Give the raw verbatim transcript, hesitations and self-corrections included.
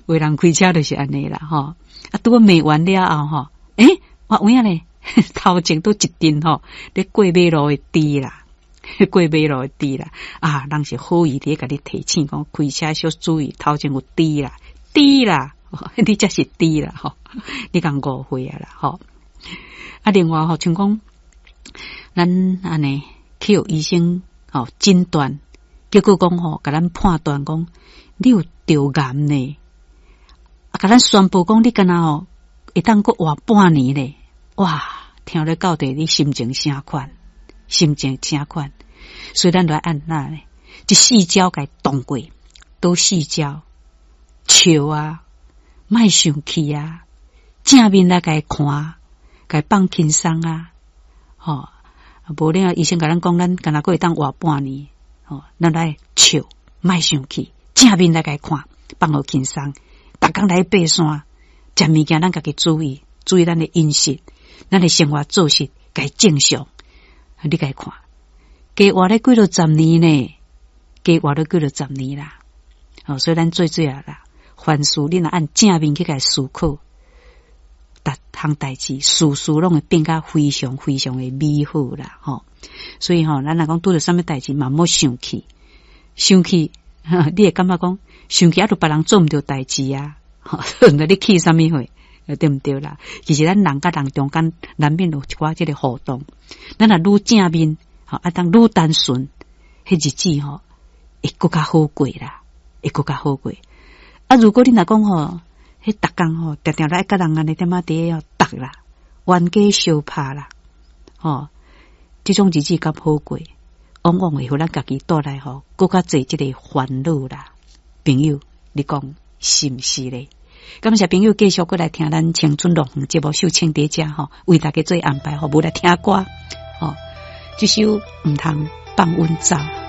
有人開車就是按呢啦，吼。啊，拄好罵完了後，吼，欸，我有影咧，頭前拄一陣吼，咧過馬路的豬啦，過馬路的豬啦，啊，人是好意佇咧共你提醒講，開車小注意，頭前有豬啦，豬啦，你才是豬啦，吼，你共誤會啊啦，吼。啊，另外吼，像講咱按呢去予醫生吼診斷，結果講吼，共咱判斷講你有著癌呢，啊，共咱宣布講你敢若吼會當閣活半年咧，哇！聽咧到底你心情啥款？心情啥款？所以咱來按怎咧？這四招共動過，佗四招，笑啊，莫生氣啊，正面來共看，共放輕鬆啊，吼！無了，醫生共咱講，咱敢若閣會當活半年，吼，咱來笑，莫生氣，正面來共看，放予輕鬆。逐工來爬山，食物件咱家己注意，注意咱的飲食，咱的生活作息共正常。你共看，加活咧幾落十年呢？加活咧幾落十年啦。哦，所以咱做做啊啦，凡事你若按正面去共思考，逐項代誌事事攏會變甲非常非常的美好啦，吼。所以吼，咱若講拄著啥物代誌嘛，莫生氣，生氣，你會感覺講生氣啊，著別人做毋著代誌啊，那你氣啥物火？對毋對啦？其實咱人佮人中間難免有一寡這个互動。咱若愈正面，吼啊，當愈單純，彼日子吼會閣較好過啦，會閣較好過。啊，如果你若講吼，彼逐工吼，定定來佮人按呢點仔佇咧鬥啦，冤家相拍啦，吼，這種日子敢好過，往往會予咱家己帶來吼，閣較濟這個煩惱啦。朋友，你講是毋是咧？感謝朋友繼續閣來聽咱青春樂園節目，秀清佇遮吼，為大家做安排吼，無來聽歌吼，這首毋通放阮走。